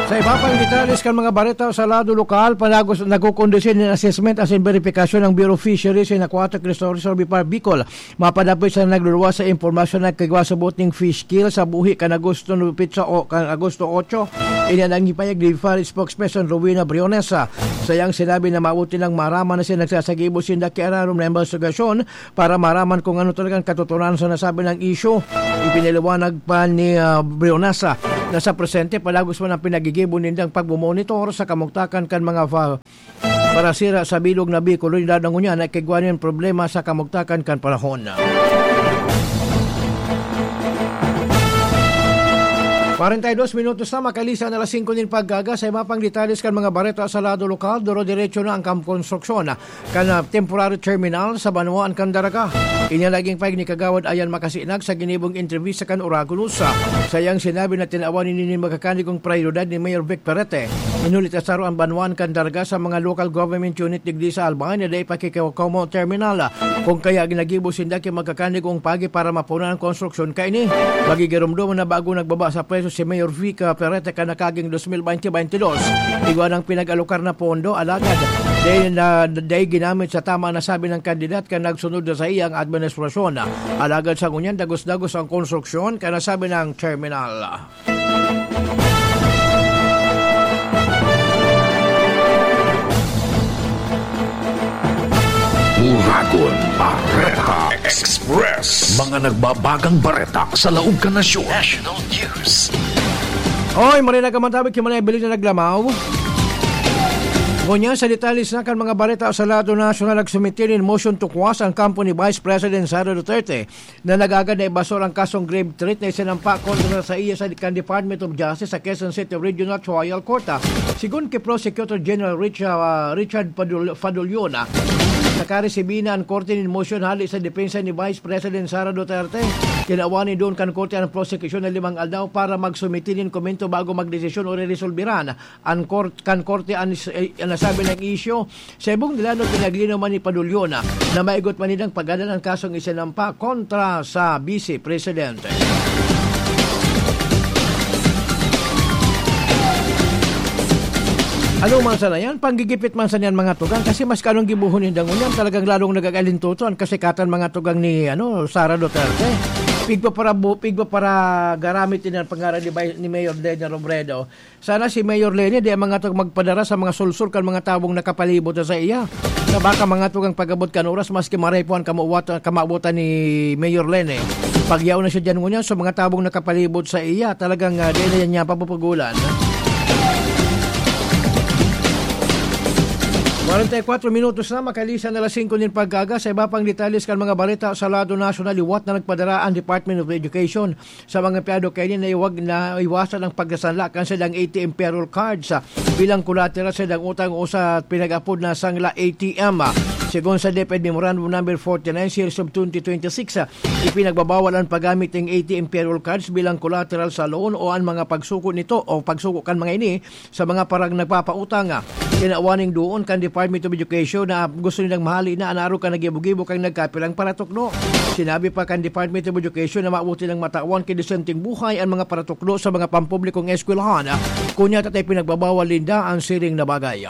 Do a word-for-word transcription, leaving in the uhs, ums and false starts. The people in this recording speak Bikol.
Sa iba pang detalles kan mga bareta sa lado lokal, panagos nagkukondusir nin assessment asin verifikasyon ang Bureau of Fisheries and Aquatic Resources o BFAR Bicol. Mapadapit sa nagluluwas sa impormasyon na kagwa sa boting fish kill sa buhi kan Agosto nupit sa o, kan Agosto otso. Ini ang ipahayag ni BFAR spokesperson Rowena Briones. Sa iyang sinabi na mabuti nang maraman na siya nagsasagibo sinda ki ararom na imbestigasyon para maraman kung ano talagang katotohanan sa nasabi ng isyu. Ipinaliwanag pa ni, ah, Briones, ah, na sa presente, palagos man ang pinagigibo nindang pagmomonitor sa kamugtakan kan mga fa-, parasira sa bilog na Bicol, unidad na ngunyan na kigwa nin problema sa kamugtakan kan panahon. Kwarenta y dos minutos na makalisan alas singko nin pag-aga. Sa iba pang detalles kan mga bareta sa lado lokal, duro-diretso na ang kam-, konstruksyon kan, ah, temporary terminal sa banwaan kan Daraga. Ini ang naging pahayag ni Kagawad Ayan Makasinag sa ginibong entrevista kan Oragon News. Sa iyang sinabi na tinawan ini nin magkakanigong prioridad ni Mayor Vic Perete. Inuli ta saro ang banwaan kan Daraga sa mga local government unit digdi sa Albay na dai pa kikawkawmo terminal. Kung kaya ginagibo sinda ki magkakanigong pagi para mapunan ang konstruksyon kaini. Magigiromdom na bago nagbaba sa pwesto si Mayor Vic Perete kan nakaging dos mil baynte baynte dos. Igwa ng pinag-alokar na pondo, alagad dai na, dai ginamit sa tama, nasabi ng kandidat kan nagsunod na sa iyang administrasyon. Alagad sa ngunyan, dagos-dagos ang konstruksyon, kan nasabi ng terminal. Uragon Bareta Express. Mga nagbabagang bareta sa laog kan nasyon. National News. Oy, marinag ka man tabi, ki Manay Bilin na naglamaw. Ngunyan, sa detalye na kan mga bareta sa lado nasyonal, nagsumite nin motion to quash ang kampo ni Vice President Sara Duterte na nag-agad na ibasol ang kasong grave threat na isinampa kontra sa iya sa kan Department of Justice sa Quezon City Regional Trial Court. Segun ki Prosecutor General Richard, ah, Richard Padul-, Fadulyon, ah, nakaresibi na an korte nin motion hali sa depensa ni Vice President Sara Duterte. Tinawan nin duon kan korte an prosekusyon na limang aldaw para magsumite nin komento bago magdesisyon o reresolbiran an kort-, kan korte an is-, eh, an nasabi na isyu. Sa ibong dilanod, pinaglinaw man ni Padulyon na maigot man nindang paggadan an kasong isinampa kontra sa Vice Presidente. Ano man sana yan, panggigipit man sana yan, mga tugang, kasi mas kanong gibuhon ninda ngunyan, talagang lalong nagagalintuto ang kasikatan, mga tugang, ni, ano, Sara Duterte. Pigpaparabu-, pigpaparagaramit din ang pangaran ni Bay-, ni Mayor Leni Robredo. Sana si Mayor Leni, di ang mga tag-, magpadara sa mga sulsol kan mga tawong nakapalibot na sa iya. Na baka mga tugang pag-abot kan oras, maski maray po ang kamuwat-, kamawotan ni Mayor Leni. Pagyaw na siya dyan ngunyan sa mga tawong nakapalibot sa iya, talagang, ah, di na niya papupugulan. Kwarenta y kwatro minutos na, makalisan na alas singko nin pag-aga. Sa iba pang detalles kan mga balita sa lado nasyonal, liwat na nagpadara ang Department of Education sa mga empleyado kaini na iwag na iwasan ang pagkasanla kan silang A T M payroll cards, ah, bilang collateral sa silang utang o sa pinag-apod na sangla A T M, ah. Segun sa DepEd Memorandum Number forty-nine, Series of twenty twenty-six, ah, ipinagbabawal ang paggamit ng A T M payroll cards bilang collateral sa loan o ang mga pagsuko nito o pagsuko kan mga ini sa mga parang nagpapautang. Tinawan ning duon kan Department of Education na gusto nilang mahali na an arog kan nagibo-gibo kan nagkapirang paratukdo. Sinabi pa kan Department of Education na mabuti nang matawan ki desenteng buhay an mga paratukdo sa mga pampublikong eskwelahan. Kunya, tatay pinagbabawal ninda an siring na bagay.